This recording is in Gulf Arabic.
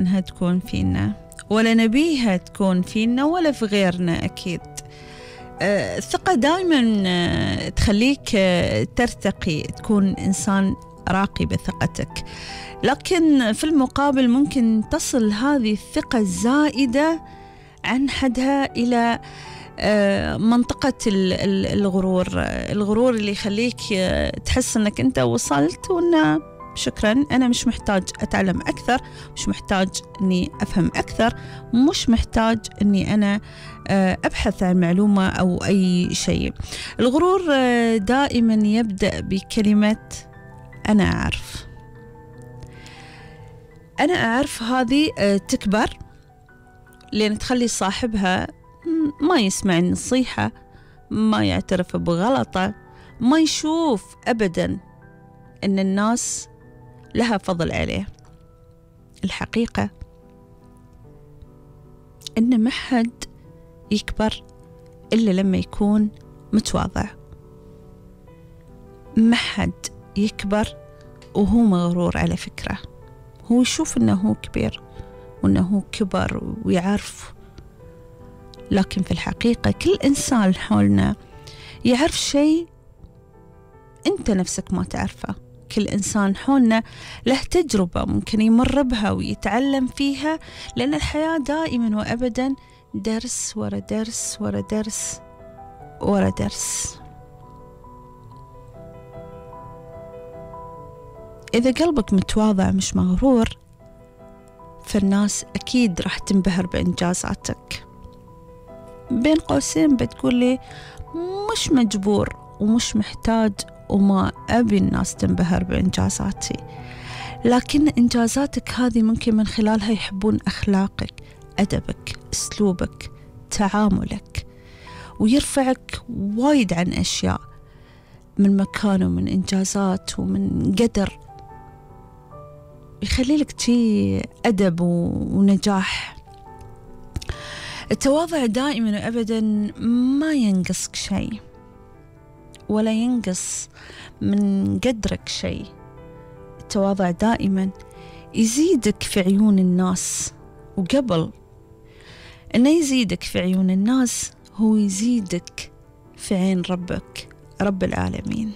أنها تكون فينا، ولا نبيها تكون فينا ولا في غيرنا أكيد. الثقة دائما تخليك ترتقي، تكون إنسان راقي بثقتك، لكن في المقابل ممكن تصل هذه الثقة الزائدة عن حدها إلى منطقة الغرور اللي يخليك تحس أنك أنت وصلت، وأنه شكرا أنا مش محتاج أتعلم أكثر، مش محتاج أني أفهم أكثر، مش محتاج أني أنا أبحث عن معلومة أو أي شيء. الغرور دائما يبدأ بكلمة أنا أعرف. أنا أعرف هذه تكبر لأن تخلي صاحبها ما يسمع النصيحة، ما يعترف بغلطه، ما يشوف أبدا أن الناس لها فضل عليه. الحقيقة أن ما حد يكبر إلا لما يكون متواضع، ما حد يكبر وهو مغرور. على فكرة هو يشوف أنه هو كبير وأنه هو كبر ويعرف، لكن في الحقيقة كل إنسان حولنا يعرف شيء أنت نفسك ما تعرفه. كل إنسان حولنا له تجربة ممكن يمر بها ويتعلم فيها، لأن الحياة دائما وأبدا درس ورا درس ورا درس ورا درس. إذا قلبك متواضع مش مغرور، فالناس أكيد راح تنبهر بإنجازاتك. بين قوسين بتقول لي مش مجبور ومش محتاج وما أبي الناس تنبهر بإنجازاتي، لكن إنجازاتك هذه ممكن من خلالها يحبون أخلاقك، أدبك، أسلوبك، تعاملك، ويرفعك وايد عن أشياء من مكان ومن إنجازات ومن قدر، يخلي لك شيء أدب ونجاح. التواضع دائما وأبدا ما ينقصك شيء ولا ينقص من قدرك شيء. التواضع دائما يزيدك في عيون الناس، وقبل أنه يزيدك في عيون الناس هو يزيدك في عين ربك رب العالمين.